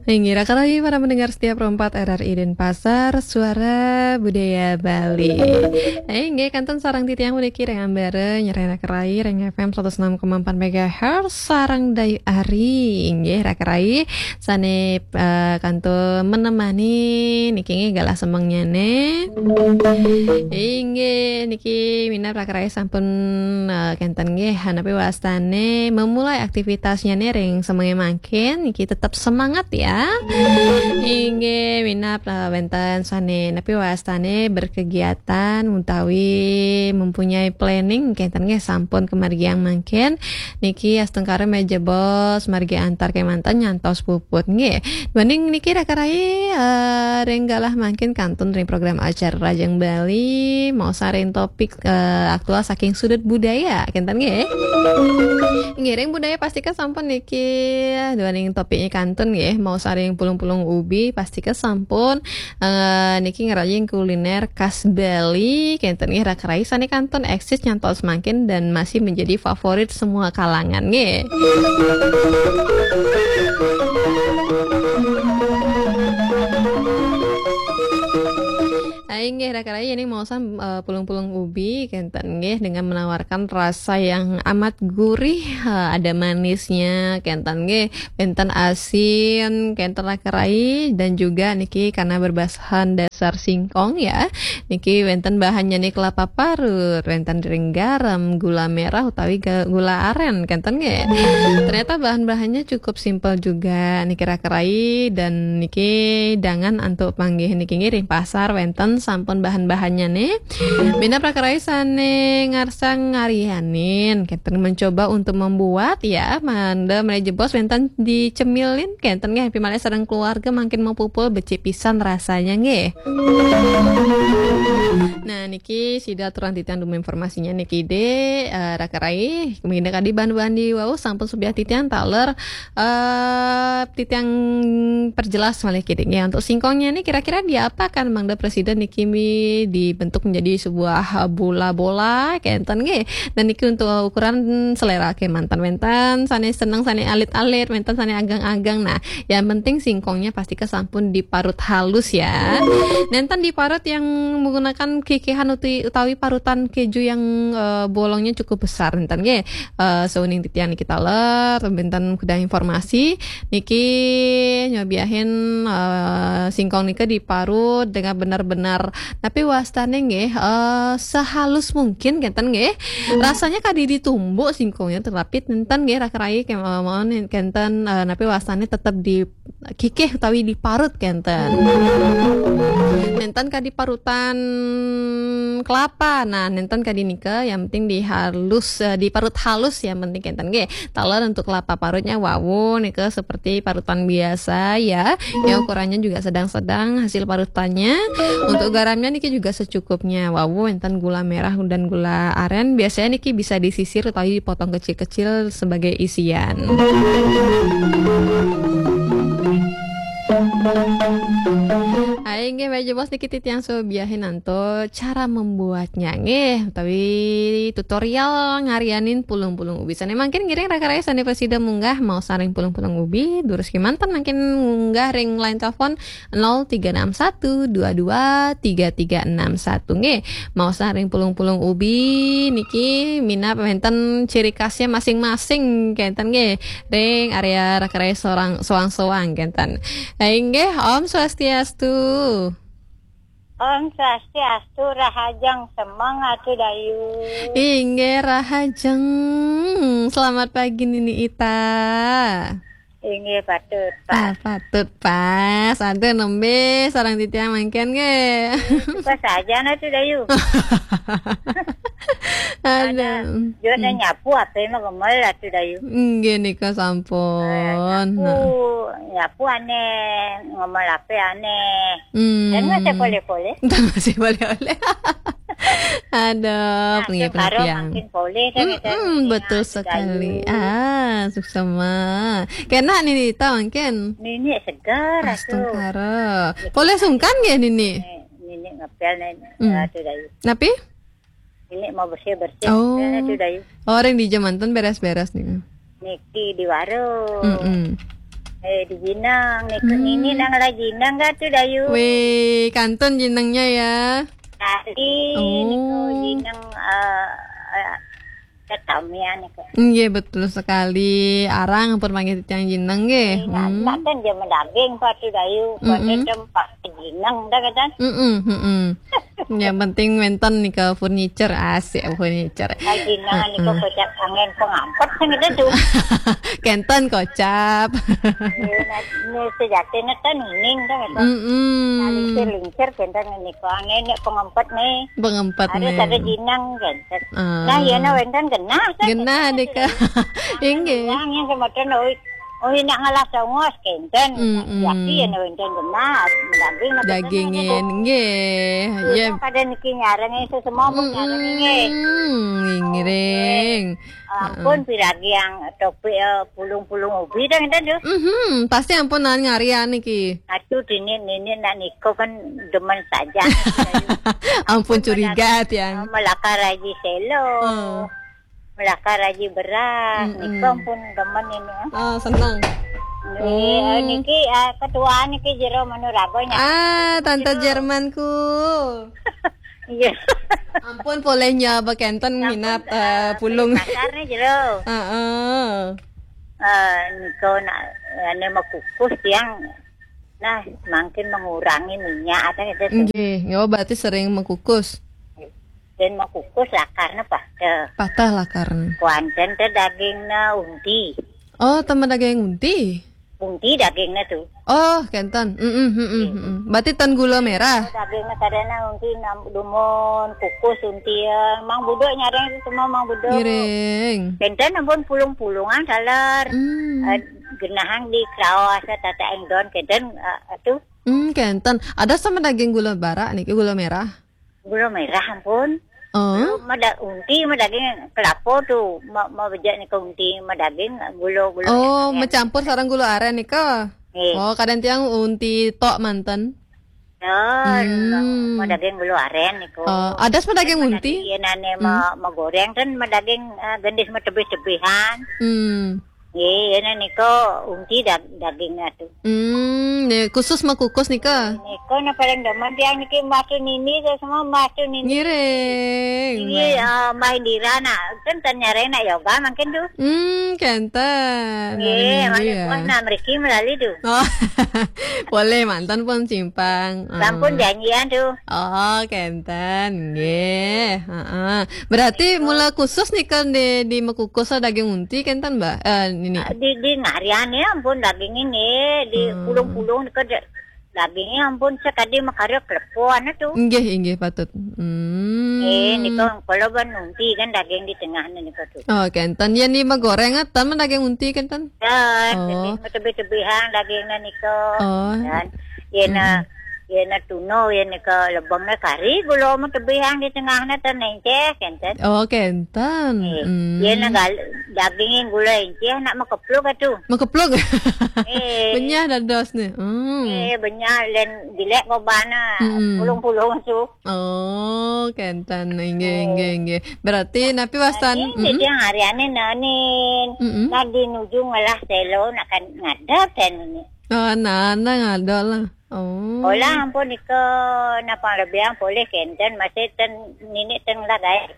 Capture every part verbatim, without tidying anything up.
Inggih, raka rayi para pendengar setia Pro empat R R I Denpasar, Suara Budaya Bali. Inggih, kantun sareng titiang puniki ring ambara nyarengin raka rayi ring F M seratus enam koma empat megahertz sareng Dayu Ari. Inggih, raka rayi sane, eh, kantun menemani niki nggih galah semengnyane. Inggih, niki minab raka rayi sampun, eh, kenten nggih, napi wastane memulai aktivitasnyane ring semenge mangkin, niki tetep semangat ya. Inggih, minab, eh, wenten sane napi wastane berkegiatan utawi mempunyai planning kenten nggih sampun kamargiang mangkin. Niki astungkara malih jebos margi antar kemanten nyantos puput nggih. Duaning niki raka rayi, eh, ring galah mangkin kantun ring program acara Rahajeng Bali, maosang ring topik, eh, aktual saking sudut budaya, kenten nggih. Nggih, ring budaya pastika sampun niki, duaning topiknya kantun nggih, maosang ring pulung-pulung ubi pastika sampun, eh, niki ngrayang kuliner khas Bali, kenten nggih raka rayi sane kantun eksis nyantos mangkin dan masih menjadi favorit semua kalangan nggih. Ah, inggih, raka rayi ini maosang, eh, pulung-pulung ubi, kenten nggih, dengan menawarkan rasa yang amat gurih, eh, ada manisnya, kenten nggih, wenten asin, kenten raka rayi, dan juga niki karena berbahan dasar singkong ya, niki wenten bahannya nih kelapa parut, wenten ring garam, gula merah utawi ga-, gula aren, kenten nggih. Ternyata bahan-bahannya cukup simpel juga niki raka rayi, dan niki dangan antuk panggih niki ngiring pasar wenten sampun bahan-bahannya nih. Minab raka rayi sane ngarsang ngaryanin, kenten mencoba untuk membuat ya, mangda malih jebos wenten dicemilin, kenten nggih, pi malih sareng keluarga mangkin mapupul becik pisan rasanya nggih. Nah, niki sida aturan titiang dumun informasinya niki de, eh, raka rayi, mangda kadi bahan-bahan di wau sampun subiah titiang taler, eh, titiang perjelas malih kidik nggih. Untuk singkongnya ini kira-kira diapakan mangda presiden niki mi dibentuk menjadi sebuah, eh, bola-bola, kenten nggih. Dan niki untuk ukuran selera kemanten, wenten sane seneng sane alit-alit, wenten sane ageng-ageng. Nah, yang penting singkongnya pastika sampun diparut halus ya. Nenten diparut yang menggunakan kikihan uti-, utawi parutan keju yang, eh, bolongnya cukup besar nenten nggih. Eh, sauning titiang niki taler, wenten kedah informasi niki nyobiahin, eh, singkong nika diparut dengan benar-benar napi wastane nggih, eh, sehalus mungkin kenten nggih. Rasanya kadi ditumbuk singkongnya, tetapi nenten nggih raka rayi ke-, eh, mawon kenten, eh, napi wastane tetep di kikih utawi diparut kenten. Nenten kadi parutan kelapa. Nah, nenten kadi nika, yang penting dihalus, eh, diparut halus, yang penting kenten nggih. Taler untuk kelapa parutnya wau nika seperti parutan biasa ya. Ya, ukurannya juga sedang-sedang hasil parutannya. Untuk garamnya niki juga secukupnya. Wau wenten gula merah dan gula aren. Biasanya niki bisa disisir utawi dipotong kecil-kecil sebagai isian. Hai, nggih, malih jebos niki titiang subiahin antuk cara membuatnya, nggih, utawi tutorial ngaryanin pulung-pulung ubi. Sane mangkin ngiring raka rayi sane prasida munggah maosang ring pulung-pulung ubi, durus kemanten mangkin munggah ring line telepon nol tiga enam satu dua dua tiga tiga enam satu, nggih. Maosang ring pulung-pulung ubi niki minab wenten ciri khasnya masing-masing kenten nggih. Ring area raka rayi sorang, soang-soang kenten. Inggih, Om Swastiastu. Om Swastiastu, rahajeng semeng Atu Dayu. Inggih, rahajeng. Selamat pagi Nini Ita. Inggih, patut, Pak. Ah, patut, Pak. Santai nembe sareng titiang mangkin nggih. Suka saja nah Atu Dayu. Ada. Ada. Juga nyapu apa mah gemel Atu Dayu. Nggih nika sampun. Nyapu, nyapu aneh, ngomel apa aneh. Hmm. Dan masih boleh-boleh. Dan masih boleh-boleh. Aduh, nah, pengiring karo tiang. Makin boleh kan. Mm-mm, betul sekali. Ah, suksema. Kena Nini Ita mangkin. Nini segar. Astungkara. Boleh sungkan nggih Nini? Nini ngepel nih, hmm. Atu Dayu. Napi? Ini mau bersih-bersih. Oh. Ini tuh, Dayu. Oh, ring dija manten beres-beres nih. Niki di warung. Mm-mm. Eh, di Jinang, niku Hmm. nini nang lah Jinang ka tu, Dayu? Weh, kantun Jinangnya ya. Tadi Oh. niku Jinang, eh, eh, tetamian niku. Nggih, betul sekali. Arang ampun manggih titiang Jinang nggih. Eh, nak, Hmm. nak kan dia medaging pa tu, Dayu. Pa Mm-mm. tu tempat Jinang dah kata. Mm-mm, mm-mm. Yang penting wénten nika furniture, asik furniture. Ai Jinang niku Heeh. kocap angin pengampet kan kita tu. Kenten kocap. Eh, nah, ini sejatinya kan uning kan kata. Mm-mm. Nah, lincir-lincir kenten niku angin nek pengampet nih. Pengampet Ada nih. Ada Jinang kenten. Ah. Nah, ya na wénten genah kan. Genah Kenten nika. Inggih. Yang yang semacam oi, oi nak ngalah songos kenten. Mm-mm. Yaki ya na wénten genah. Daging Dagingin, nggih. Ya. Pada niki nyareng itu semua pun nyareng nggih. Mm-mm, ngiring. Ampun, Heeh. piragi yang topik, eh, pulung-pulung ubi dah kita tu. Mhm, pasti ampun nan ngarian niki. Atuh, dini nini nak niko kan demen saja. Ampun curiga tiang. Melakar Haji Selo. Oh. Melakar Haji Beras. Mm-mm. Niko ampun demen ini, eh. Ah, senang. Eh, Hmm. niki, eh, ketua niki jero menu rabonya. Ah, Tante Jero. Jermanku. Iya. Ampun, polehnya bekenten Sampun, minat, eh, eh, pulung. Pasar nih jero. Heeh. Eh, niko nak, ane mekukus tiang, nah, makin mengurangi minyak, ada gitu tuh. Nggih, nggih, oh, berarti sering mekukus. Dan mekukus lakarnya patah. Patah lakarnya. Kuanten teh dagingnya unti. Oh, tambah daging unti? Unti dagingnya tuh. Oh, kenten. Mm-mm, mm-mm, Iya. mm-mm. Berarti tan gula merah? Dagingnya kadana unti nam-, dumun, kukus unti ya. Mang Buduk nyareng itu semua Mang Buduk. Ngiring. Kenten ampun pulung-pulungan saler. Hmm. Eh, genahang di kraos, tata engdon, kenten, eh, itu. Hmm, kenten. Ada sama daging gula bara niki, gula merah? Gula merah, ampun. Oh. Gula mah da-, unti mah daging kelapa tuh. Ma, ma bejak nika unti mah daging gula, gula Oh, merah. Mencampur sareng gula aren nika? Nggih. Oh, kadang tiang unti tok manten. Ya, Hmm. Mah daging gula aren niku. Oh, ada sama daging Kan unti? Daging yen ane Hmm. ma, ma goreng kan ma daging, eh, gendis ma tebih-tebihan. Hmm. Nggih, yen niku unti dag-, daging atuh. Hmm, nggih, khusus ma kukus nika? Niku na paling demen tiang niki macu nini, saya semua macu nini. Ngiring. Nggih, eh, Mbah Indira nak, kan tan nyareng nak yoga mungkin tuh. Hmm, kenten. Nggih, Malam minggu mana ya. Puas nak mriki melali tuh. Oh. Boleh mantan pun simpang. Sampun Ah. janjian tuh. Oh, kenten. Nggih, heeh. Berarti mula khusus nika di, di mekukus daging unti kenten, Mbak? Eh, nini. Di, di ngarian ya ampun daging ini, di Hmm. pulung-pulung nika da-, dagingnya ampun sekadi makarya kelepuan tuh. Nggih, inggih patut. Hmm. Eh, nika kalau ban unti kan daging di tengah nika tuh. Oh, kenten. Yen ni ma goreng, tan ma daging unti kenten? Ya, Oh. tebih-, tebih-tebihan dagingnya nika. Oh. Dan yen Mm-mm. yen tuna, yen nika lebengnya kari, gula ma tebihan di tengahnya tan enceh, kenten. Oh, kenten. Eh, Hmm. yen gal-, dagingnya gula enceh, nak ma kepluk atuh. Ma kepluk? Eh. Benyah dados nih. Hmm. Eh, benyah len dilek kobana, Mm-mm. pulung-pulung tuh. Oh, kenten. Inggih, Oh. inggih, inggih. Berarti napi wastan? Nah, ini Mm-mm. tiang hariane nanin. Mm-mm. Nah, di nuju ngelah selo, nak kan ngadap kan ini. Oh, nah, nah, ngadol lah. Oh. Olah ampun nika, napa lebih boleh kenten, masih ten, nini ten lah, guys.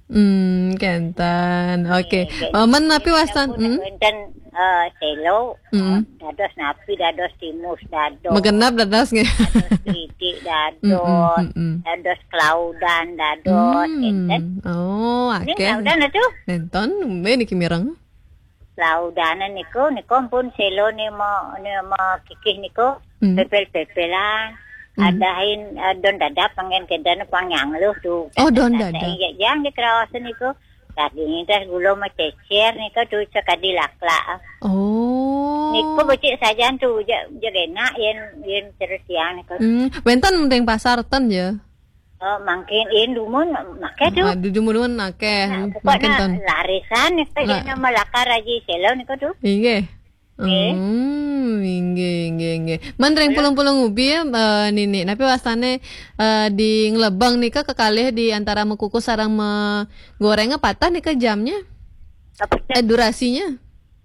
Hmm, kenten. Oke. Nggih, nggih. Oh, men napi wastan? Sampun Hmm. wénten, eh, selo, Hmm. dados napi, dados timus, dados. Magenap dados nggih. Dados keripik, dados, Mm, mm, mm, mm. dados kelaudan, dados, Hmm. enten. Oh, Ini akeh. Kelaudan itu? Nenten, nembe niki mireng. Laudane niku, niku pun selo ni ma, ni ma kikih niku, Hmm. pepel-pepelan. Hmm. Adahin, eh, don dadap pangen kedan pang nyangluh tu. Oh, don dadap. Iya, yang di Kerawasan niku. Daging teh gula ma cecer niku tu sekadi laklak. Oh. Niku becik sajan tu, je, je enak yen, yen terus yang niku. Hmm, wenten ring pasar ten ya? Oh, mangkin in dumun akeh tu. Ah, dumun akeh. Nah, hmm, pokoknya mangkin ten. Larisan ni, Lah. Nama lakar aji selo niku tu. Inggih. Nggih. Hmm, inggih, inggih, inggih. Men ring pulung-pulung ubi ya, eh, Nini. Napi wastane, eh, di nglebeng nika kekalih di antara mekukus sareng megoreng patah nika jamnya? Apa? Eh, durasinya?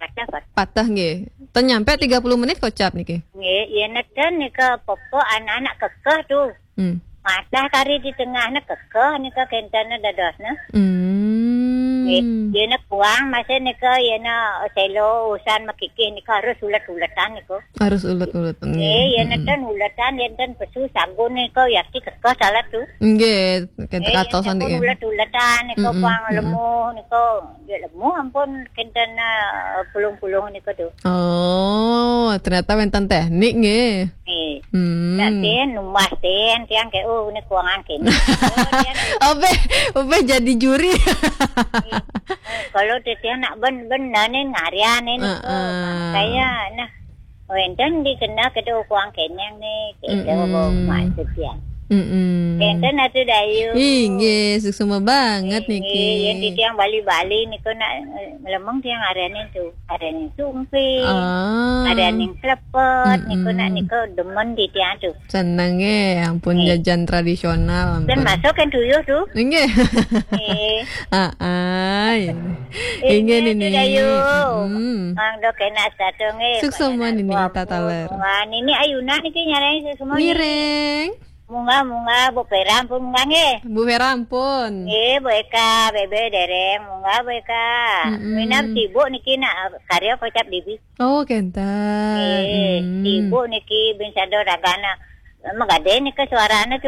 Patah, patah. Patah nggih. Ten nyampe tiga puluh menit kocap niki. Nggih, yen neten nika pepe anak-anak kekeh tu. Hmm. Matah kari di tengah ne kekeh nika kenten ne dados ne. Hmm. Nggih, yen ne kuang masih nika yen ne selo usan makikih nika harus ulet-uletan niku. Harus ulet-ulet. Nggih, yen neten uletan yen ten pesu sagun nika yati kekeh salah tu. Nggih, kenten katosan sagun nggih. Ulet-uletan niku kuang lemu niku. Ya lemu ampun kenten eh, pulung-pulung niku tu. Oh, ternyata wenten teknik nggih. Nggih. Hmm. Nak ten numbas ten tiang ke oh ni kuangan kene. Obeh, obeh jadi juri. Kalau tetiang nak ben ben nane ngarian ni. Heeh. Kaya nah. Wenten dikena kedo kuang kenyang ni. Kedo mak tetiang. Mm-mm. Wenten atu dayu. Inggih, suksma banget niki. Yen titiang bali-bali niku nak eh, lemeng tiang arane tu. Arane sumping. Ah. Arane klepet niku nak niku demen titiang tu. Seneng eh, ampun jajan tradisional ampun. Dan masuk kan tuyuh tu. Inggih. Eh. Ah, ah, ya. Inggih nini. Dayu. Hmm. Mang dok enak satu nggih. Suksma nini tataler. Wah, nini ayuna niki nyarani suksma. Ngiring. Munggah, munggah, Bu Vera ampun munggah nggih. Bu Vera ampun. Nggih, Bu Eka, Bebe dereng, munggah Bu Eka. Mm-mm. Minam sibuk niki nak karya kocap dibi. Oh, kenten. Nggih, sibuk niki bin sado ragana. Megade niki suarane tu.